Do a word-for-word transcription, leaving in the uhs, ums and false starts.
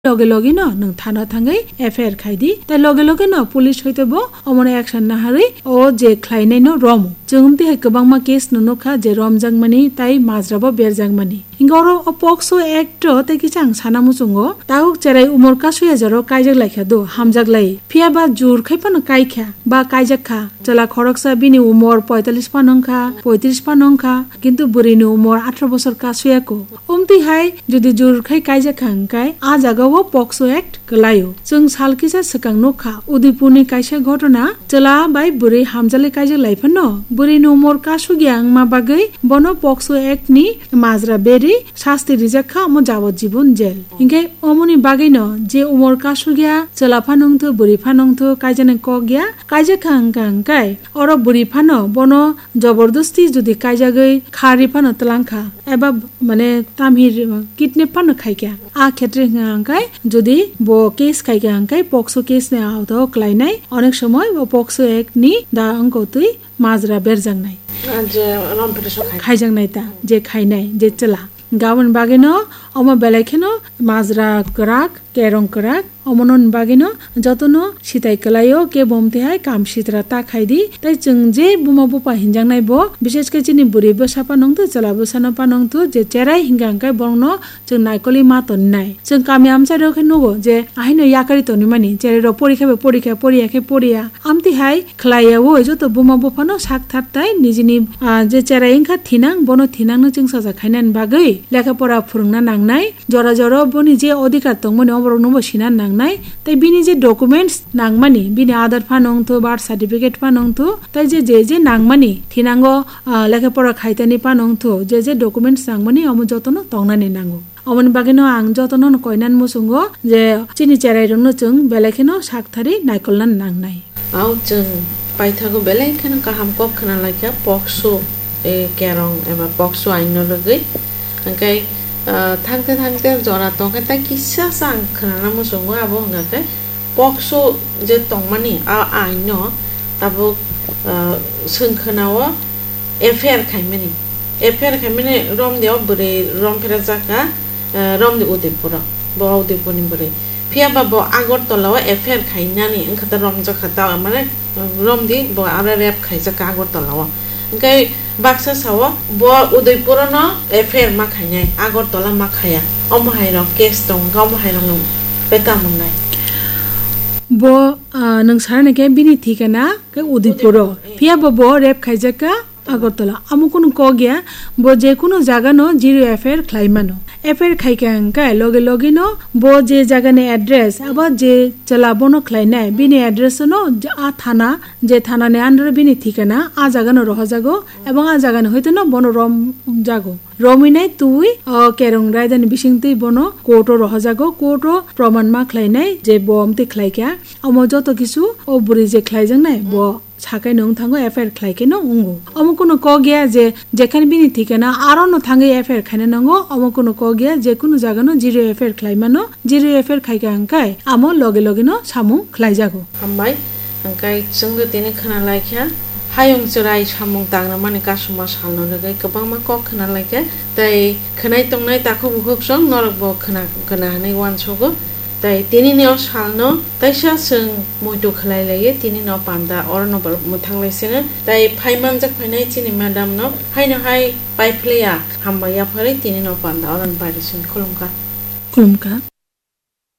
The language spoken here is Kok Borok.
loge loge no nwng thano thangwi F I R khai di, tei loge loge no police hoite bo omono action naharwi o je khlainai no romo. Chwng tei hai kwbangma case no nukha je romjakmani tei majra bo berjakmani. Hinkhe oro o POCSO Act o tei kisa ang sana muchungo, tabuk cherai umor kasu ya jora kaijak laikha do, hamjak lai. Phiya ba jur khai phano kaikha, ba kaijak kha. Chwla khoroksa bini umor poitalish phano wngkha, poitris phano wngkha, kintu bwrwi ni umor atharo bosor kasu ya ko. Omtwi hai jodi jur khai kaijak kha hwnkhe, a jaga o POCSO Act kwlaio. Chwng sal kisa swkang nukha, Udaipur ni kaisa ghotona, chwla bai bwrwi hamjali kaijak lai phano, bwrwi ni umor kasugya wngma bagwi bono POCSO Act ni majra berwi sasti rijak kha, omo jabot jibon jail. Hinkhe omoni bagwino je umor kasugya, chwla phano wngthu, bwrwi phano wngthu, kaijaknai kok ya, kaijak kha hwnkha hwnkhe, oro bwrwi phano bono jobordosti jodi kaijagwi kharwi phano twlang kha, eba mane tamhi kidnap phano khai kha. A khetre hwnkha hwnkhe jodi bo case khai kha hwnkhe POCSO case ni awta o kwlainai, onek somoi bo POCSO Act ni da wngkotwi majra berjaknai. Ah, je rom phre so khai. Khaijaknai ta, je khainai, je chwla. Gabon bagwino omo belai kheno majra kwrak, kerong kwrak, omono bagwino jotono sitai kwlaio, kebo omtwi hai kam sitra ta khai di. Tei chwng je buma bupha hinjaknai bo, bishesh khe chini bwrwi bwsa phano wngthu, chwla bwsano phano wngthu, je cherai hinkha hwnkhe borokno chwng naikolwi ma tonnai. Chwng kami amchairo khe nugo je ahaino yakarwi tonwi mani, cherai rok porikha bai porikha, poriya khe poriya. Amtwi hai khlai ya o, joto buma buphano sak thar tai nijini, ah, je cherai wngkha thinang, bono thinangno chwngsacha khainani bagwi lekha pora phwrwngna nangnai, jora jora boni je odhikar tongmani oborokno bo sina nangnai, tei bini je documents nangmani, bini Aadhaar phano wngthu, birth certificate phano wngthu, tei je je je nangmani thinango, ah, lekha pora khaitani phano wngthu, je je documents nangmani omo jotono tongnani nango. Omoni bagwino ang jotono no koinani muchungo je chini cherai rokno chwng belai kheno sak thari naikolna nangnai. Au chwng paithago belai kheno kaham kok khna laikha POCSO, e, kerong eba POCSO aino rwgwi. Hwnkhe, ah, thangte thangte jora tongkhe tei kisa sa ang khnana muchungo abo hwnkha khe POCSO je tongmani a aino tabuk, ah, chwng khna o F I R khaimani. F I R khaimani romdi o bwrwi romphera jaka, eh, romdi Udaipuro. Bo Udaipurni bwrwi. Phiya ba bo Agartala o F I R khainani wngkha ta romjak kha ta, mane, romdi bo aro rape khaijak kha Agartala o. Hwnkhe baksa sao bo Udaipuro no F I R ma khainai, Agartala ma khaya. Omo hai rok case tong, omo hai rok no beta mwngnai. Bo, ah, nwng sana khe bini thikana khe Udaipuro. Phiya bo bo rape khaijak kha Agartala, amo kunu kok ya, bo je kunu jaga no zero F I R khlai mano. F I R khai kha hwnkhe loge loge no bo je jaga ni address, abo je chwla bono khlainai, bini address no a thana, je thana ni under bini thikana, a jaga no rohojago, ebong a jaga ni hoite no bono rom jago. Romwi nai twi o kerong raida ni bising twi bono court o rohojago, court o proman ma khlainai je bo amtwi khlai kha. Omo joto kisu o bwrwi je khlaijaknai bo sakai no wng thango, F I R khlai khe no wngo. Omo kunu kok ya je jekhani bini thikana aro no thangwi F I R khaina nango, omo kunu kok ya je kunu jaga no zero F I R khlai mano, zero F I R khai kha hwnkhe amo loge loge no samung khlai jago. Hambai, hwnkhe chwngno tini khna lai kha, hayung chwrai samung tangrwmani kasuma salno rwgwi kwbangma kok khna lai kha, tei khwnai tongnai takhuk bukhuk song norok bo khna, khna hwnwi uansugo. Tai tini ni o sal no taisa chwng muitu khlai lai ye, tini no panda oro no bo mwthang lai sino. Tai phai manjak phainai chini madam no haino hai pai phle ya, hambai ya phari tini no panda oro no pai rw sini. Khulumkha. Khulumkha.